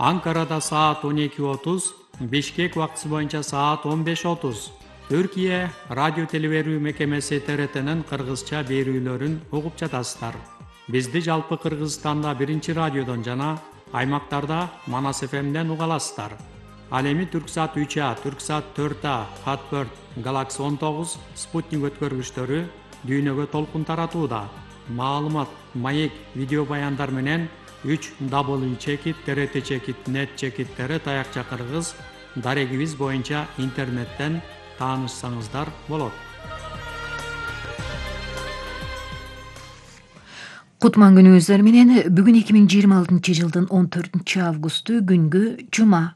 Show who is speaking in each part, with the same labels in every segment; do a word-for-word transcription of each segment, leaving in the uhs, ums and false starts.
Speaker 1: Анкарада саат он эки отуз, Бишкек убактысы боюнча саат он беш отуз. Түркия радио телеберүү мекемеси Т Р Т'нин кыргызча берүүлөрүн угуп жатасыздар. Бизди жалпы Кыргызстанда биринчи радиодон жана аймактарда Манас Ф M'ден уга аласыздар. Ал эми Түрксат үч А, Түрксат төрт А, Хатберт, Галакси он тогуз, Спутник өткөргүчтөрү дүйнөгө толкун таратууда. Маалымат, маек, видео баяндар менен үч W чекит, Т Р Т чекит, нет чекит, Т Р Т аякча кыргыз дарегибиз боюнча интернеттен таанышсаңыздар болот.
Speaker 2: Кутман күнүңүздөр менен бүгүн эки миң жыйырма алтынчы жылдын он төртүнчү августу күнгү жума.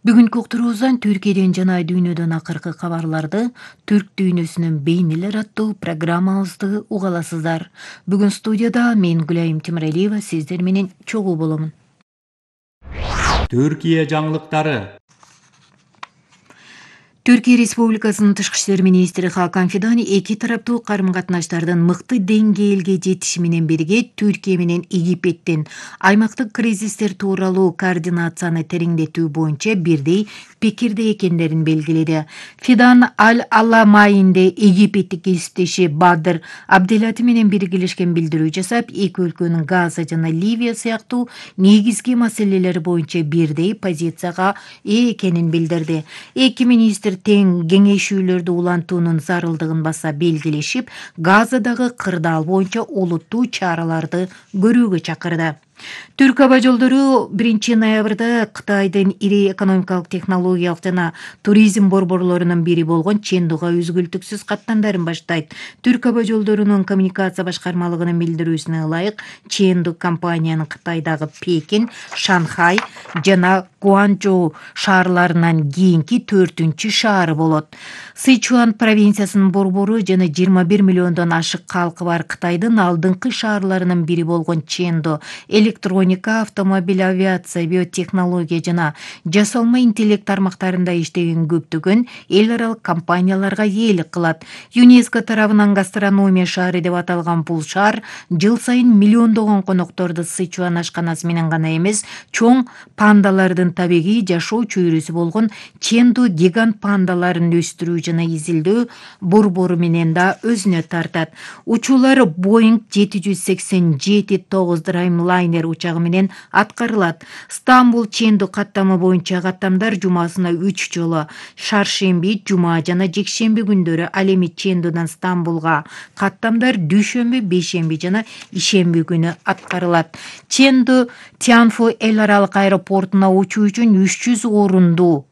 Speaker 2: Бүгүнкү уктуруубуздан Түркияден жана дүйнөдөн акыркы кабарларды түрк дүйнөсүнүн бейнелер аттуу программабызды уга аласыздар. Бүгүн студияда мен Гүлайым Темиралиева сиздер менен чогуу боломун.
Speaker 1: Түркия жаңылыктары.
Speaker 2: Түркия Республикасынын Тышкы иштер министри Хакан Фидан эки тараптуу карым-катнаштардын мыкты деңгээлге жетиши менен бирге Түркия менен Египеттин аймактык кризистер тууралуу координацияны тереңдетүү боюнча бирдей пикирде экендерин белгиледи. Фидан Аль-Аламайнде египеттик кесиптеши Бадр Абделати менен биргелешкен билдирүү жасап, эки өлкөнүн Газа жана Ливия сыяктуу негизги маселелер боюнча бирдей позицияга ээ экенин билдирди. Эки министр тең кеңешүүлөрдү улантуунун зарылдыгын баса белгилешип, Газадагы кырдаал боюнча олуттуу чараларды көрүүгө чакырды. Түрк аба жолдору биринчи ноябрда Кытайдын ири экономикалык, технологиялык жана туризм борборлорунун бири болгон Чендуга үзгүлтүксүз каттамдарын баштайт. Түрк аба жолдорунун коммуникация башкармалыгынын билдирүүсүнө ылайык, Ченду компаниянын Кытайдагы Пекин, Шанхай жана Гуанчжоу шаарларынан кийинки төртүнчү шаары болот. Сычуан провинциясынын борбору жана жыйырма бир миллиондон ашык калкы бар Кытайдын алдыңкы шаарларынын бири болгон Ченду электроника, автомобиль, авиация, биотехнология жана жасалма интеллект тармактарында иштеген көптөгөн эл аралык компанияларга ээлик кылат. ЮНЕСКО тарабынан гастрономия шаары деп аталган бул шаар жыл сайын миллиондогон конокторду Сычуан ашканасы менен гана эмес, чоң пандалардын табигый жашоо чөйрөсү болгон Ченду гигант пандаларын өстүрүү жана изилдөө борбору менен да өзүнө тартат. Учуулар Боинг жети жүз сексен жети тогуз Dreamliner учагы менен аткарылат. Стамбул Ченду каттамы боюнча каттамдар жумасына үч жолу, шаршемби, жума жана жекшемби күндөрү, ал эми Чендудан Стамбулга каттамдар дүйшөмбү, бейшемби жана ишемби күнү аткарылат. Ченду Тянфу эл аралык аэропортуна учуу үчүн үч жүз орундуу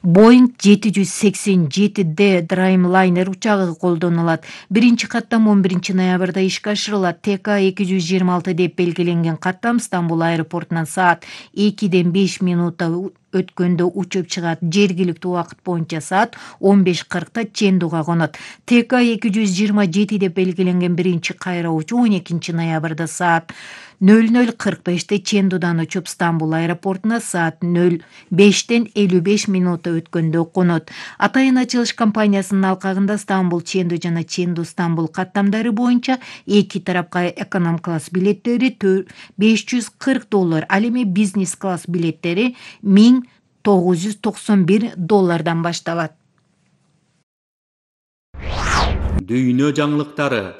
Speaker 2: Боинг жети жүз сексен жети Д Dreamliner учагы колдонулат. Биринчи каттам он биринчи ноябрда ишке ашырылат. Т К эки жүз жыйырма алты деп белгиленген каттам Стамбул аэропортунан саат экиден беш минутта өткөндө учуп чыгат. Жергиликтүү убакыт боюнча саат он беш кыркта Чендуга конот. Т К эки жүз жыйырма жети деп белгиленген биринчи кайра учуу он экинчи ноябрда саат нөл нөл кырк беште Чендудан учуп Стамбул аэропортуна саат нөл бештен элүү беш минутта өткөндө конот. Атайын ачылыш компаниясынын алкагында Стамбул Ченду жана Ченду Стамбул каттамдары боюнча эки тарапка эконом класс билеттери беш жүз кырк доллар, ал эми бизнес класс билеттери миң тогуз жүз токсон бир доллардан башталат.
Speaker 1: Дүйнө жаңылыктары.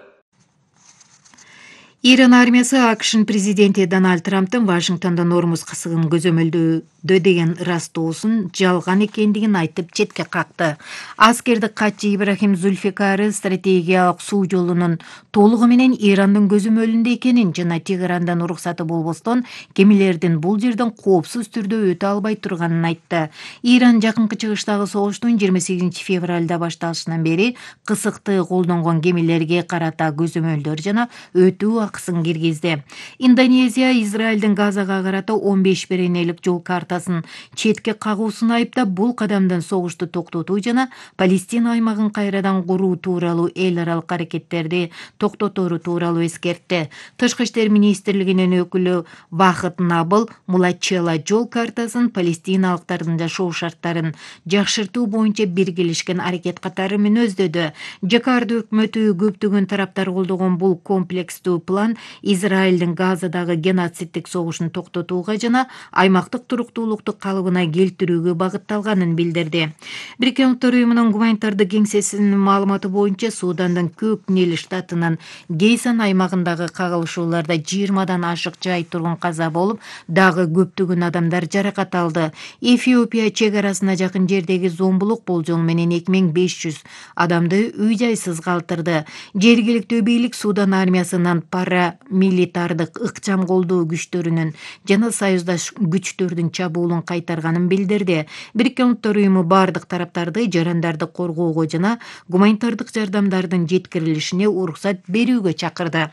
Speaker 2: Иран армиясы АКШнын президенти Дональд Трамптын Вашингтондо Ормуз кысыгын көзөмөлдөөдө деген ырастоосун жалган экендигин айтып четке какты. Аскердик катчы Ибрахим Зульфикары стратегиялык суу жолунун толугу менен Ирандын көзөмөлүндө экенин жана Тегерандан уруксаты болбостон кемелердин бул жерден коопсуз түрдө өтө албай турганын айтты. Иран жакынкы чыгыштагы согуштун жыйырма сегизинчи февралда башталышынан бери кысыкты колдонгон кемелерге карата көзөмөлдөр жана өтүү акысын киргизди. Индонезия Израилдин Газага карата он беш беренелик жол картасын четке кагуусун айыптап, бул кадамдан согушту токтотуу жана Палестина аймагын кайрадан куруу тууралуу эл аралык аракеттерди токтотору тууралуу эскертти. Тышкы иштер министрлигинин өкүлү Вахыт Набыл Мулачела жол картасын палестиналыктардын жашоо шарттарын жакшыртуу боюнча биргелешкен аракет катары мүнөздөдү. Жакарта өкмөтү көптөгөн тараптар колдогон бул комплекстүү план план Израилдин Газадагы геноциддик согушун токтотууга жана аймактык туруктуулукту калыбына келтирүүгө багытталганын билдирди. Бириккен Улуттар уюмунун гуманитардык кеңсесинин маалыматы боюнча Судандын Көк Нил штатынын Гейсан аймагындагы кагылышууларда жыйырмадан ашык жай тургун каза болуп, дагы көптөгөн адамдар жаракат алды. Эфиопия чек арасына жакын жердеги зомбулук болжол менен эки миң беш жүз адамды үй-жайсыз калтырды. Жергиликтүү бийлик Судан армиясынын парамилитардык ыкчам колдоо күчтөрүнүн жана союздаш күчтөрдүн чабуулун кайтарганын билдирди. Бириккен Улуттар уюму бардык тараптарды жарандарды коргоого жана гуманитардык жардамдардын жеткирилишине уруксат берүүгө чакырды.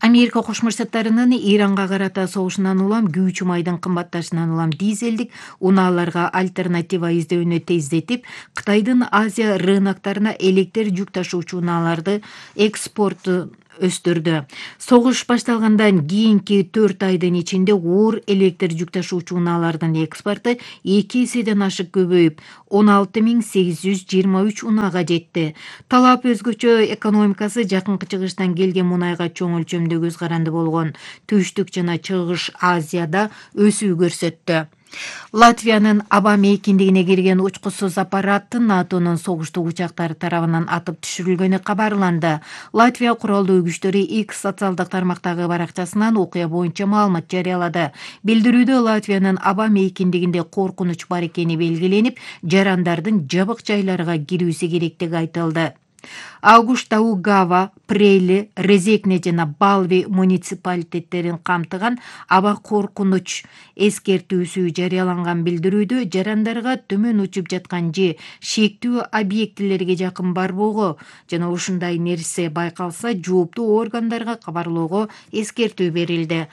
Speaker 2: Америка Кошмо Штаттарынын Иранга карата согушунан улам күйүүчү майдын кымбатташынан улам дизелдик унааларга альтернатива издөөнү тездетип, Кытайдын Азия рыноктарына электр жүк ташуучу унааларды экспорту өстүрдү. Согуш башталгандан кийинки төрт айдын ичинде оор электр жүк ташуучу унаалардын экспорту эки эседен ашык көбөйүп, он алты миң сегиз жүз жыйырма үч унаага жетти. Талап өзгөчө экономикасы жакынкы чыгыштан келген мунайга чоң өлчөмдө көз каранды болгон Түштүк жана Чыгыш Азияда өсүү көрсөттү. Латвиянын аба мейкиндигине кирген учкусуз аппарат НАТОнун согуштук учактары тарабынан атып түшүрүлгөнү кабарланды. Латвия куралдуу күчтөрү X социалдык тармактагы баракчасынан окуя боюнча маалымат жарыялады. Билдирүүдө Латвиянын аба мейкиндигинде коркунуч бар экени белгиленип, жарандардын жабык жайларга кирүүсү керектиги айтылды. Аугуштаугава, Прейли, Резекне жана Балви муниципалитеттерин камтыган аба коркунуч эскертүүсү жарыяланган билдирүүдө жарандарга төмөн учуп жаткан же шектүү объектилерге жакын барбоого жана ушундай нерсе байкалса жооптуу органдарга кабарлоого эскертүү берилди.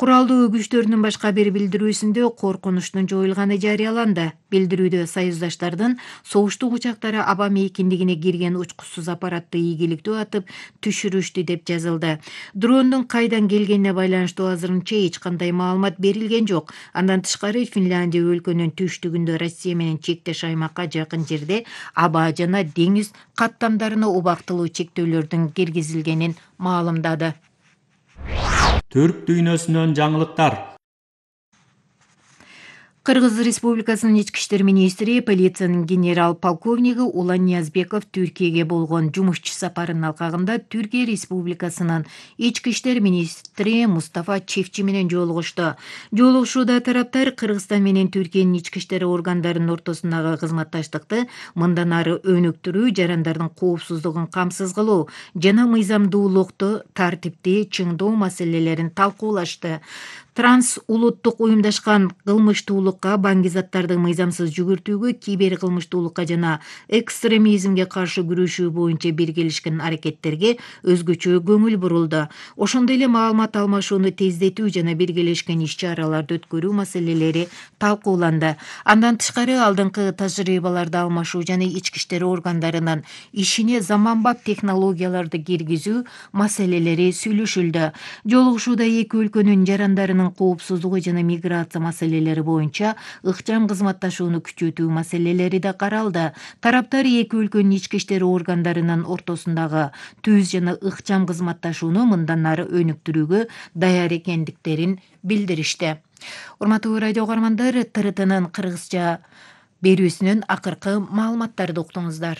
Speaker 2: Куралдуу күчтөрдүн башка бир билдирүүсүндө коркунучтун жоюлганы жарыяланды. Билдирүүдө союздаштардын согуштук учактары аба мейкиндигине кирген учкусуз аппаратты ийгиликтүү атып түшүрүштү деп жазылды. Дрондун кайдан келгенине байланыштуу азырынча эч кандай маалымат берилген жок. Андан тышкары Финляндия өлкөнүн түштүгүндө Россия менен чектеш аймакка жакын жерде аба жана деңиз каттамдарына убактылуу чектөөлөрдүн киргизилгенин маалымдады.
Speaker 1: Түрк дүйнөсүнөн жаңылыктар.
Speaker 2: Кыргыз Республикасынын ички иштер министри, полициянын генерал-полковниги Улан Ниязбеков Түркияге болгон жумушчу сапарынын алкагында Түркия Республикасынын ички иштер министри Мустафа Чевчи менен жолугушту. Жолугушууда тараптар Кыргызстан менен Түркиянын ички иштер органдарынын ортосундагы кызматташтыкты мындан ары өнүктүрүү, жарандардын коопсуздугун камсыз кылуу жана мыйзамдуулукту, тартипти чыңдоо маселелерин талкуулашты. Транс улуттук уюмдашкан кылмыштуулукка, баңгизаттарды мыйзамсыз жүгүртүүгө, кибер кылмыштуулукка жана экстремизмге каршы күрөшүү боюнча биргелешкен аракеттерге өзгөчө көңүл бурулду. Ошондой эле маалымат алмашууну тездетүү жана биргелешкен иш-чараларды өткөрүү маселелери талкууланды. Андан тышкары алдыңкы тажрыйбаларды алмашуу жана ички иштер органдарынын ишине заманбап технологияларды киргизүү маселелери сүйлөшүлдү. Жолугушууда эки өлкөнүн жарандарынын коопсуздугу жана миграция маселелери боюнча ыкчам кызматташууну күчөтүү маселелери да каралды. Тараптар эки өлкөнүн ички иштер органдарынын ортосундагы түз жана ыкчам кызматташууну мындан ары өнүктүрүүгө даяр экендиктерин билдиришти. Урматтуу радио угармандар, ТРТнын кыргызча берүүсүнүн акыркы маалыматтарды уктуңуздар.